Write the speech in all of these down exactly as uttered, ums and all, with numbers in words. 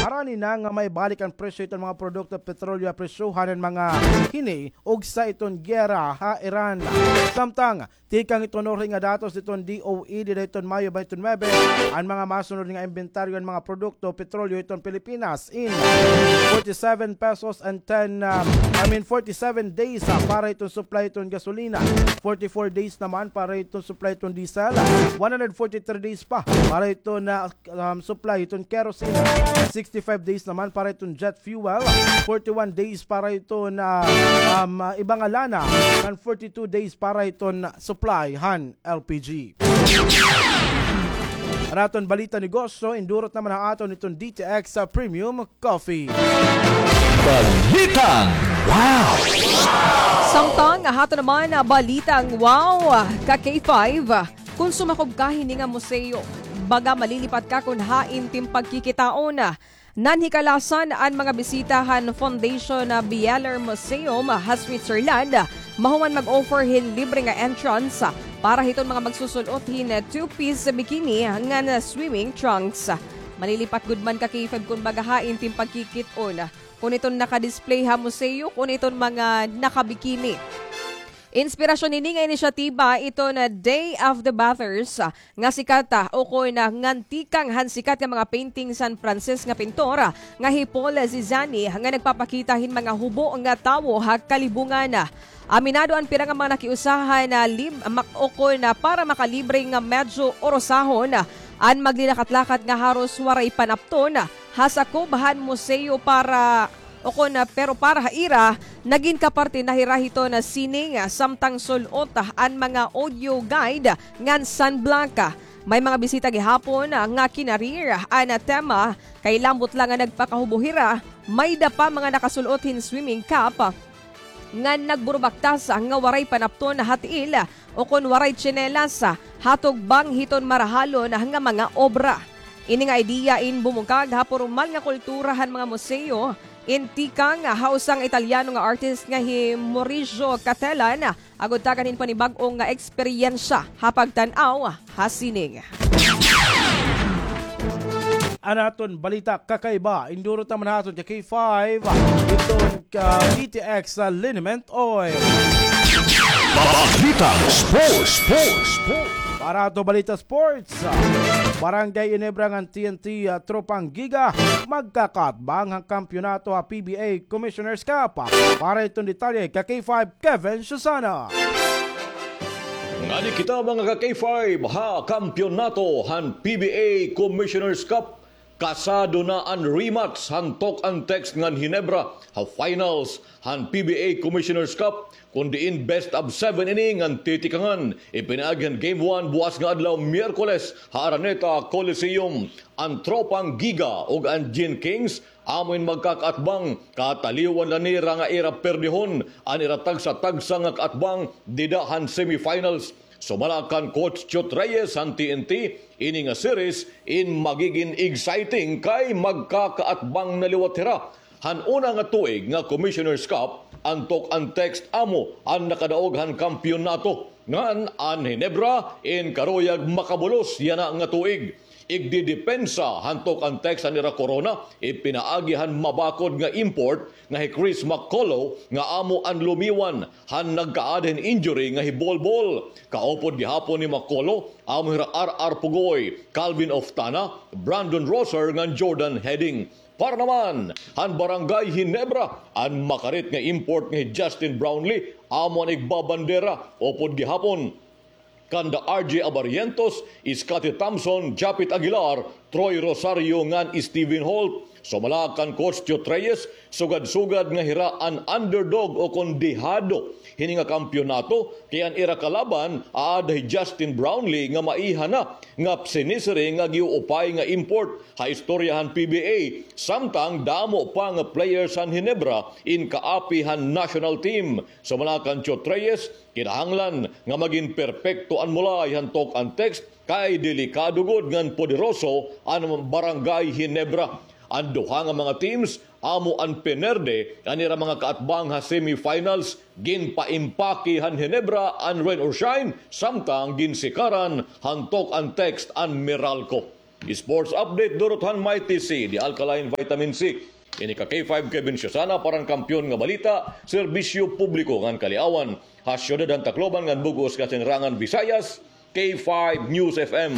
harani na nga may balik an presyo iton mga produkto petrolyo ha presyohan han mga hini ugsa iton giyera ha Iran. Samtang tikang iton norhi nga datos iton D O E dida iton Mayo twenty-nine, an mga masunod nga imbentaryo han mga produkto petrolyo iton Pilipinas in forty-seven pesos and ten, um, I mean, forty-seven days, ah, para iton supply iton gasolina, forty-four days naman para iton supply iton diesel, one hundred forty-three days pa para iton, ah, um, supply iton kerosene, sixty-five days naman para iton jet fuel, forty-one days para iton, ah, um, ah, iba nga lana, and forty-two days para iton supply han L P G. An aton balita negosyo, indurot naman ha aton iton D T X, ah, Premium Coffee. Balitang Wow! Samtang ha aton naman, ah, balitang wow, ka K five, kon sumakob ka hini nga museo, baga malilipat ka kon hain it im pagkikitaon. Nanhikalasan an mga bisita han Foundation Bieler Museum ha Switzerland, mahuman mag-offer hin libre nga entrance para hiton mga magsusul-ot hin two-piece bikini ngan swimming trunks. Malilipat gud man ka K five kon baga hain it im pagkikit-on. Kon iton naka-display ha museo, kon iton mga naka-bikini. Inspirasyon hini nga inisyatiba iton Day of the Bathers, ah, nga sikat, ah, ukon, ah, ngan tikang han sikat nga mga paintings han Pranses nga pintor, ah, nga hi Paul Zizani, nga nagpapakita hin mga hubo nga tawo ha kalibungan. Aminado an pira nga mga nakiusahan na lib-, mak-, ukon, ah, para makalibre nga medyo orosahon, ah, an maglilakat-lakat nga haros waray panapton, ah, ha sakob han museo para ukon, ah, pero para ha ira, nagin kaparte na hira hiton sining, ah, samtang sul-ot, ah, an mga audio guide ngan sunblock. May mga bisita gihapon, ah, nga kinarir an tema, kay lambot la nga nagpakahubo hira, may-ada pa mga nakasul-ot hin swimming cap, ah, ngan nagburubaktas, ah, nga waray panapton ha tiil, ukon waray tsinelas, ah, ha tugbang hiton marahalon, ah, nga mga obra. Ini nga ideya in bumungkag ha pormal nga kultura han mga museo, in tikang, ah, ha usa nga Italiano nga artist nga hi Maurizio Cattelan, ah, agod tagan hin panibag-o nga eksperyensya ha pagtan-aw ha sining. An aton balita kakaiba, indurot naman ha aton ka K five, iton ka D T X, ah, liniment oil. Balitang sports, sports, sports. Para ato balita sports, ah, Barangay Ginebra ngan T N T, ah, Tropang Giga, magkakaatbang han kampiyonato ha P B A Commissioner's Cup. Para iton detalye, ka K five, Kevin Susana. Ngadi kita, mga ka K five, ha kampiyonato han P B A Commissioner's Cup. Kasado na an rematch han Talk and Text ngan Ginebra ha finals han P B A Commissioner's Cup, kon diin best of seven ini ngan titikangan. Ipinaagi han Game one buwas nga adlaw, Miyerkules, ha Araneta Coliseum. An Tropang Giga ug an Gin Kings amo in magkakaatbang, kataliwan la nira nga ira perdehon an ira tagsa-tagsa nga kaatbang dida han semifinals. Sumala kan Coach Chot Reyes han T N T, ini nga series in magigin exciting kay magkakaatbang na liwat hira. Han una nga tuig nga Commissioner's Cup, an Talk and Text amo an nakadaog han kampiyonato, ngan an Ginebra in karuyag makabulos yana nga tuig. Igdidepensa han Talk and Text an ira korona, ipinaagi han mabakod nga import nga hi Chris McCullough nga amo an lumiwan han nagkaada hin injury nga hi Bol Bol. Kaupod gihapon ni McCullough, amo hira R R Pugoy, Calvin Oftana, Brandon Rosser ngan Jordan Heading. Para naman han Barangay Ginebra, an makarit nga import nga hi Justin Brownlee amo an igbabandera upod gihapon kanda R J Abarrientos, Scottie Thompson, Japit Aguilar, Troy Rosario ngan Steven Holt. Sumala kan Coach Chot Reyes, sugad-sugad nga hira an underdog ukon dehado hini nga kampiyonato, kay an ira kalaban aada hi Justin Brownlee nga maiha na nga sinisiri nga giuupay nga import ha istorya han P B A, samtang damo pa nga players han Ginebra in kaapi han national team. Sumala kan Chot Reyes, kinahanglan nga magin perpekto an mulay han Talk and Text, kay delikado gud ngan poderoso an Barangay Ginebra. An duha nga mga teams amo an pinerde an ira mga kaatbang ha semifinals. Ginpaimpake han Ginebra an Rain or Shine, samtang ginsikaran han Talk and Text an Meralco. Sports update durot han Mighty C, the alkaline vitamin C. Ini ka K five Kevin Siosana para han Kampiyon nga Balita, Serbisyo Publiko ngan Kaliawan, ha syudad han Tacloban ngan bug-os nga Sinirangan Visayas, K five News F M.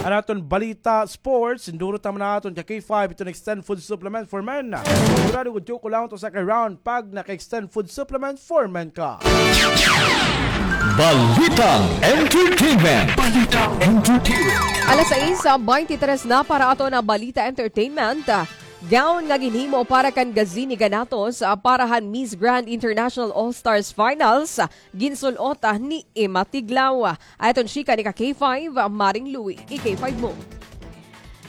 An aton balita sports, indurot naman naton ka K five iton Extend Food Supplement for Men. Sigurado gud ko kulang to sa ka round pag naka-Extend Food Supplement for Men ka. Balitang Entertainment. Balitang Entertainment. Alas sais, ah, baynte tres na para aton balita entertainment. Gown nga ginhimo para kan Gazini Ganados, ah, para han Miss Grand International All Stars Finals, ah, ginsul-ot, ah, ni Emma Tiglao. Aton chika ni ka K five, ah, Maring Louie. I K five mo.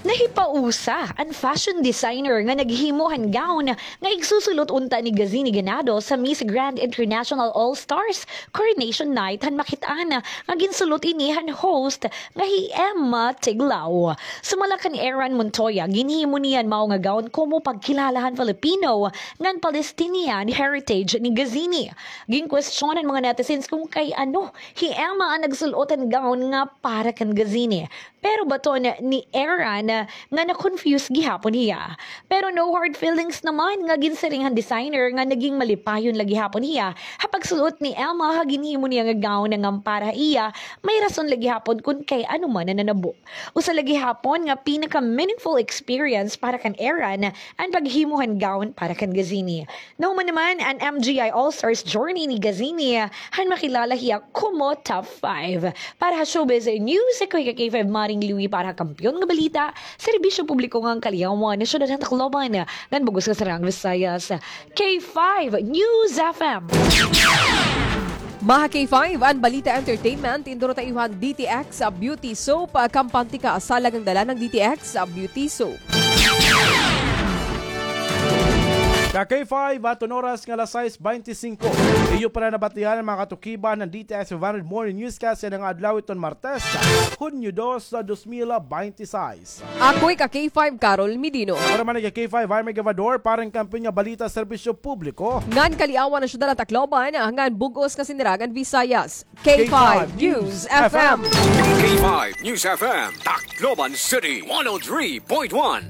Nahipausa an fashion designer nga naghimo han gown nga igsusul-ot unta ni Gazini Ganados sa Miss Grand International All Stars Coronation Night han makit-an, nga ginsul-ot ini han host nga hi Emma Tiglao. Sumala kan Aaron Montoya, ginhimo niya an mao nga gown komo pagkilala han Filipino ngan Palestinian heritage ni Gazini. Ginkwestiyon han mga netizens kon kay ano hi Emma an nagsul-ot han gown nga para kan Gazini. Pero baton ni Aaron nga na-confuse gihapon hiya. Pero no hard feelings naman nga ginsiring han designer nga naging malipayon la gihapon hiya ha pagsul-ot ni Emma ha ginhimo niya nga gown nga para ha iya, may rason la gihapon kon kay ano man an nanabo. Usa la gihapon nga pinaka-meaningful experience para kan Aaron an paghimo han gown para kan Gazini. Nahuman naman an M G I All Stars journey ni Gazini han makilala hiya komo top five. Para ha showbiz news, ako hi ka K five Maring Louie para ha Kampiyon nga Balita, Serbisyo Publiko ngan Kaliawan, Syudad han Tacloban, ngan bug-os nga Sinirangan Visayas, K five News F M. Mga K five, an balita entertainment, indurot ha iyo han D T X, ah, Beauty Soap, ah, kampante ka, salag an dala han D T X, ah, Beauty Soap. Ka K five, aton oras nga alas sais baynte singko. Iyo pa la nabatian an mga katukiban han D T X five hundred Morning Newscast yana nga adlaw iton Martes, Hunyo dos, dos mil baynte sais. Ako hi ka K five, Carol Medino. Para man ka K five, Jaime Gavador, para han Kampiyon nga Balita, Serbisyo Publiko ngan Kaliawan, Syudad han Tacloban, ngan bug-os nga Sinirangan Visayas, K five News F M. K five News F M, Tacloban City, one oh three point one.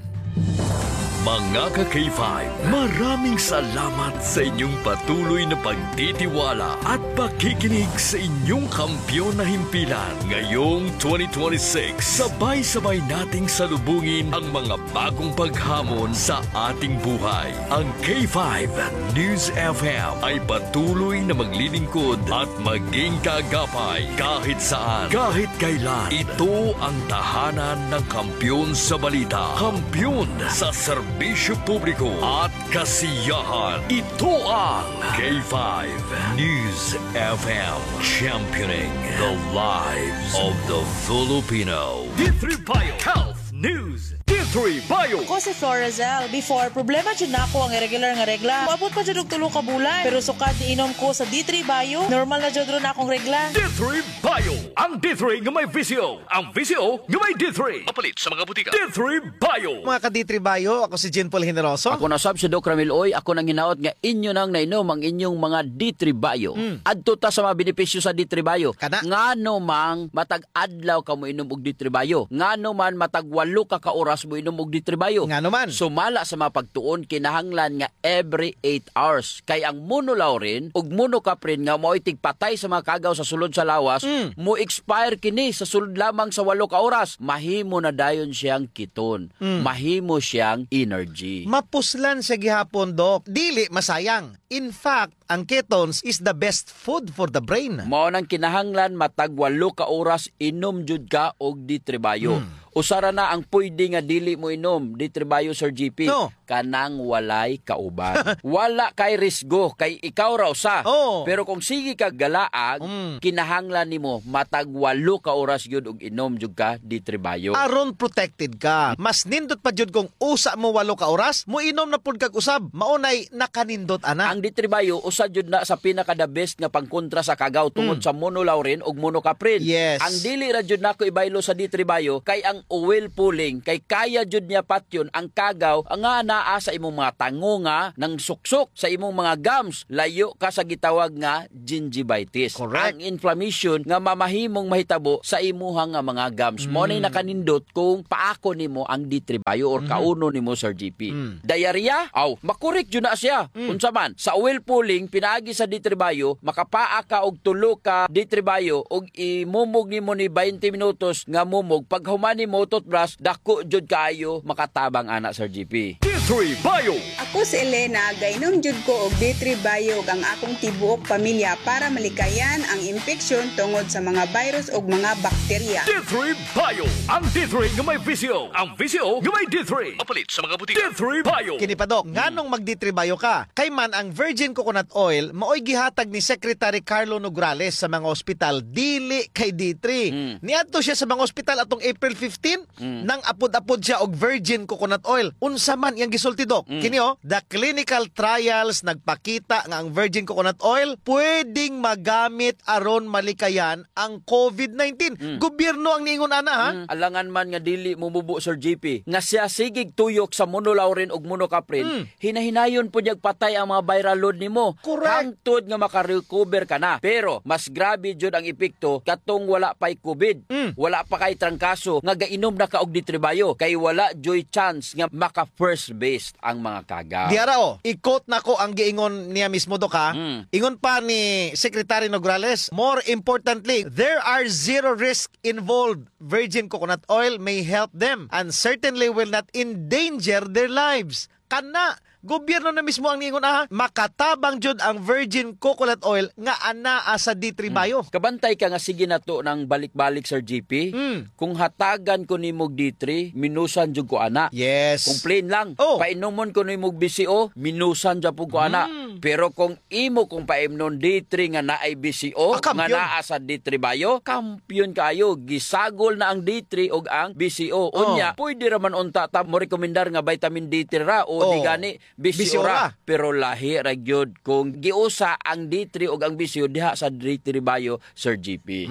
Mga ka K five, maraming salamat sa inyong patuloy na pagtitiwala at pakikinig sa inyong Kampiyon na Himpilan. Ngayong twenty twenty-six, sabay-sabay nating salubungin ang mga bagong paghamon sa ating buhay. Ang K five News F M ay patuloy na maglilingkod at maging kaagapay kahit saan, kahit kailan. Ito ang tahanan ng kampiyon sa balita, kampiyon sa serbisyo publiko at kasiyahan. Ito ang K five News F M, championing the lives of the Filipino. D three Bio Health News. D three Bio. Ako si Florazel. Before, problema jud nako ang irregular nga regla. Moabot pa jud og tulo ka bulan. Pero sukad niinom ko sa D three Bio, normal na jud ron akong regla. D three Bio. Ang D three nga may visyo. Ang visyo nga may D three. Mapalit sa mga butika. D three Bio. Mga ka D three Bio, ako si Jean Paul Generoso. Ako na sab si Doc Ramil Oy. Ako nang hinaot nga inyo nang nainom ang inyong mga D three Bio. Mm. Adto ta sa mga benepisyo sa D three Bio. Kana? Ngano mang matag adlaw ka moinom og D three Bio? Ngano man matag walo ka ka oras moinom og D three Bio? Ngano man? Sumala sa mga pagtuon, kinahanglan nga every eight hours. Kay ang monolaurin ug monocaprin nga mao'y tigpatay sa mga kagaw sa sulod sa lawas, Mm. mo-expire kini sa sulod lamang sa walo ka oras. Mahimo na dayon siyang ketone. Mm. Mahimo siyang energy. Mapuslan siya gihapon, Doc. Dili masayang. In fact, ang ketones is the best food for the brain. Mao nang kinahanglan matag walo ka oras inom jud ka og D three Bio. Hmm. Usa ra na ang pwede nga dili moinom D three Bio, Sir G P. No. Kanang walay kauban. Wala kay risgo, kay ikaw ra usa. Oo. Pero kung sige ka galaag, Hmm. kinahanglan nimo matag walo ka oras gyud og inom jud ka D three Bio. Aron protected ka. Mas nindot pa jud kung usa mo walo ka oras, moinom na pud kag usab. Mao nay nakanindot ana. Ang D three Bio, usa jud na sa pinaka the best nga pangkontra sa kagaw tungod Mm. sa monolaurin ug monocaprin. Yes. Ang dili ra jud nako ibaylo sa D three Bio kay ang oil pulling, kay kaya jud niya patyon ang kagaw nga anaa sa imong mga tango nga nangsuksok, sa imong mga gums, layo ka sa gitawag nga gingivitis. Correct. Ang inflammation nga mamahimong mahitabo sa imuha nga mga gums. Mao nay nakanindot kung paako nimo ang D three Bio or kauno nimo, Sir G P. Diarrhea? Aw, makorek jud na siya. Unsa man? Sa oil pulling, pinaagi sa D three Bio, makapaa ka og tulo ka D three Bio og imumog nimo ni baynte minutos nga mumog. Paghuman nimo toothbrush, dako jud kaayo makatabang ana, Sir G P. D three Bio. Ako si Elena, gainom jud ko og D three Bio ug ang akong tibuok pamilya para malikayan ang impeksyon tungod sa mga virus ug mga bakterya. D three Bio. Ang D three nga may V C O. Ang V C O nga may D three. Mapalit sa mga butika. D three Bio. Kini pa, Doc, nganong mag-D three Bio ka? Kay man ang virgin coconut oil, maoy gihatag ni Secretary Carlo Nograles sa mga ospital, dili kay D three. Niadto siya sa mga ospital atong April fifteen, nang apod-apod siya og virgin coconut oil. Unsa man iyang gisulti, Doc? Kini, oh, the clinical trials nagpakita nga ang virgin coconut oil pwedeng magamit aron malikayan ang COVID nineteen. Gobyerno ang niingon ana, ha? Alangan man nga dili mumubo, Sir G P, nga siya sigig tuyok sa monolaurin ug monocaprin, hinahinayon pod niyag patay ang mga viral load nimo. Correct. Hangtod nga makarecover ka na. Pero mas grabe jud ang epekto katong wala pa'y COVID. Wala pa kay trangkaso nga gainom na ka og D three Bio, kay wala juy chance nga maka first base ang mga kagaw. Dia ra, oh, i-quote nako ang giingon niya mismo, Doc, ha? Ingon pa ni Secretary Nograles, "More importantly, there are zero risk involved. Virgin coconut oil may help them and certainly will not endanger their lives." Kana, gobyerno na mismo ang niingon, aha, makatabang jud ang virgin coconut oil nga anaa sa D three Bio. Kabantay ka nga sige nato nang balik-balik, Sir G P. Kung hatagan ko nimo og D three, minusan jud ko ana. Yes. Kung plain lang, painomon ko nimo og B C O, minusan jud pud ko ana. Pero kung imo kong paimnon D three nga naay B C O, nga naa sa D three Bio, kampiyon kaayo, gisagol na ang D three ug ang B C O. Unya, pwede ra man unta ta mo rekomendar nga vitamin D three ra o di gani B C O ra. Pero lahi ra gyud kung giusa ang D three ug ang B C O diha sa D three Bio, Sir G P.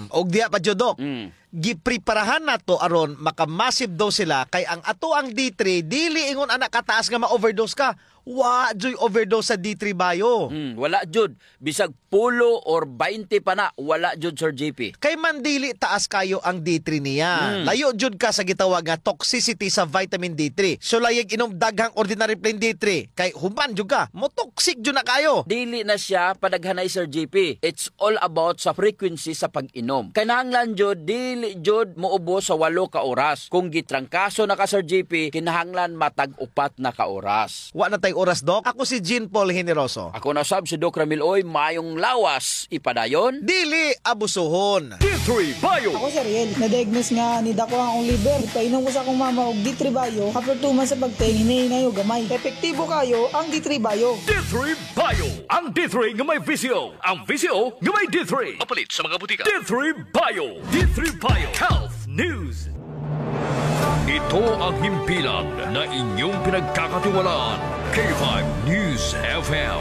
Og diha pa jud, Doc. Gipreparahan nato aron maka-massive dose sila, kay ang atoang D three dili ingon ana kataas nga ma-overdose ka. Wa juy overdose sa D three Bio. Wala jud. Bisag pulo or baynte pa na, wala jud, Sir G P. Kay man dili taas kayo ang D three niya. Layo jud ka sa gitawag nga toxicity sa vitamin D three. So, layag inom daghang ordinary plain D three. Kay human jud ka, mo-toxic jud na kayo. Dili na siya padaghanay, Sir G P. It's all about sa frequency sa pag-inom. Kinahanglan jud, dili jud moubos sa walo ka oras. Kung gitrangkaso na ka, Sir G P, kinahanglan matag upat na ka oras. Wa na tay oras, Doc. Ako si Jean Paul Generoso. Ako na sab si Doc Ramil Oy, mayong lawas, ipadayon. Dili abusuhon. D three Bio. Ako si Ariel. Na-diagnose nga nidako ang akong liver. Ipainom ko sa akong mama og D three Bio. After two months sa pag-take, hinay-hinay og gamay. Epektibo kayo ang D three Bio. D three Bio. Ang D three nga may V C O. Ang V C O nga may D three. Mapalit sa mga butika. D three Bio. D three Bio. Health News. Ito ang himpilan na inyong pinagkakatiwalaan, K five News F M.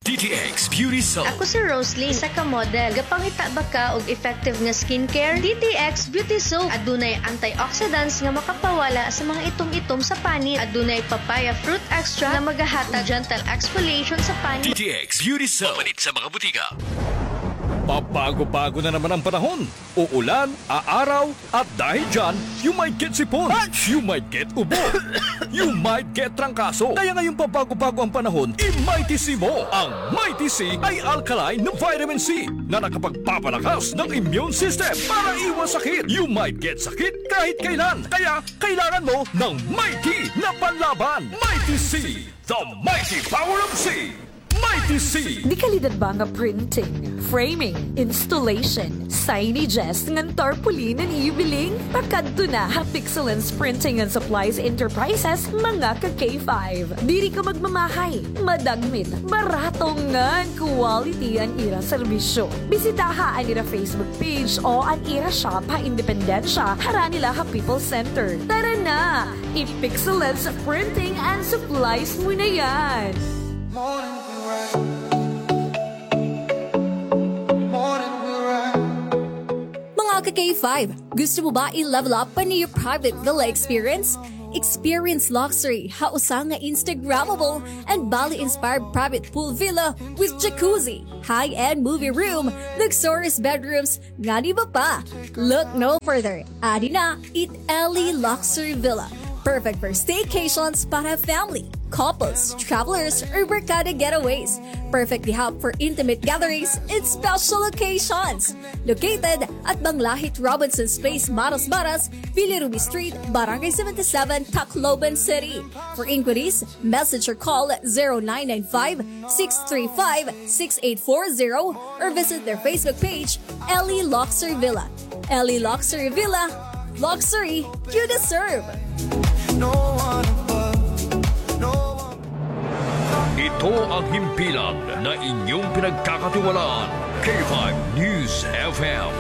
D T X Beauty Soap. Ako si Rosalie, isa ka model. Gapangita ba ka og effective nga skincare? D T X Beauty Soap. Adunay antioxidants nga makapawala sa mga itom-itom sa panit. Adunay papaya fruit extract nga magahatag gentle exfoliation sa panit. D T X Beauty Soap. Mapalit sa mga butika. Pabago-bago na naman ang panahon. Uulan, aaraw, at dahil dyan, you might get sipon, you might get ubo, you might get trangkaso. Kaya ngayong pabago-bago ang panahon, i-Mighty C mo. Ang Mighty C ay alkaline na vitamin C na nakapagpapalakas ng immune system para iwas sakit. You might get sakit kahit kailan. Kaya kailangan mo ng Mighty na panlaban. Mighty C, the mighty power of C. Mighty C. Dekalidad ba nga printing, framing, installation, signages, ngan tarpaulin an ibiling? Pakadto na ha Pixelance Printing and Supplies Enterprises, mga ka K five. Diri ka magmamahay, madagmit, barato ngan quality an ira serbisyo. Bisitaha an ira Facebook page o an ira shop ha Independencia, harani la ha People's Center. Tara na! I-Pixelance Printing and Supplies mo na yan! Morning will rise. Morning will rise. K five, gusto mo ba i-level up pa an iyo private villa experience? Experience luxury ha usa nga Instagrammable and Bali-inspired private pool villa with jacuzzi, high-end movie room, luxurious bedrooms, ngan iba pa. Look no further. Adi na it Ellie Luxury Villa. Perfect for staycations para family, couples, travelers, or barkada getaways. Perfect di hap for intimate gatherings and special occasions. Located at Banglahit Robinson's Place, Maras Maras, Villa Ruby Street, Barangay seventy-seven, Tacloban City. For inquiries, message or call zero nine nine five, six three five, six eight four zero or visit their Facebook page, Ellie Luxury Villa. Ellie Luxury Villa, luxury you deserve. Ito ang himpilan na inyong pinagkakatiwalaan, K five News F M.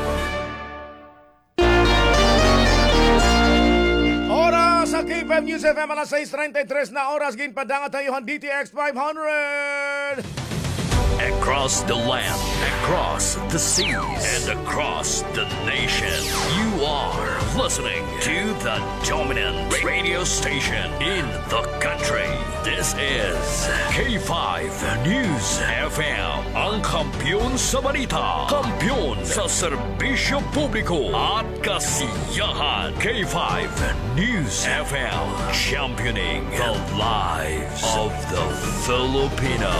Oras sa K five News F M, alas sais treinta y tres na oras, ginpadangat ha iyo han D T X five hundred. Across the land, across the seas, and across the nation, you are listening to the dominant radio station in the country. This is K five News F M, ang kampiyon sa balita, kampiyon sa serbisyo publiko at kasiyahan. K five News F M, championing the lives of the Filipino.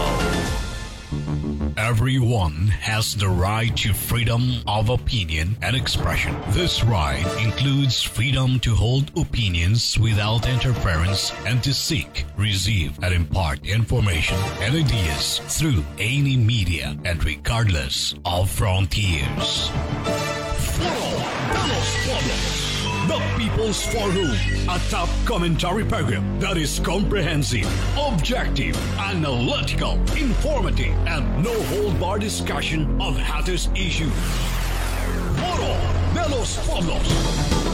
Everyone has the right to freedom of opinion and expression. This right includes freedom to hold opinions without interference and to seek, receive, and impart information and ideas through any media and regardless of frontiers. Foro de los Pueblos, the People's Forum, a top commentary program that is comprehensive, objective, analytical, informative, and no-hold-bar discussion of hottest issues. Foro de los Pueblos,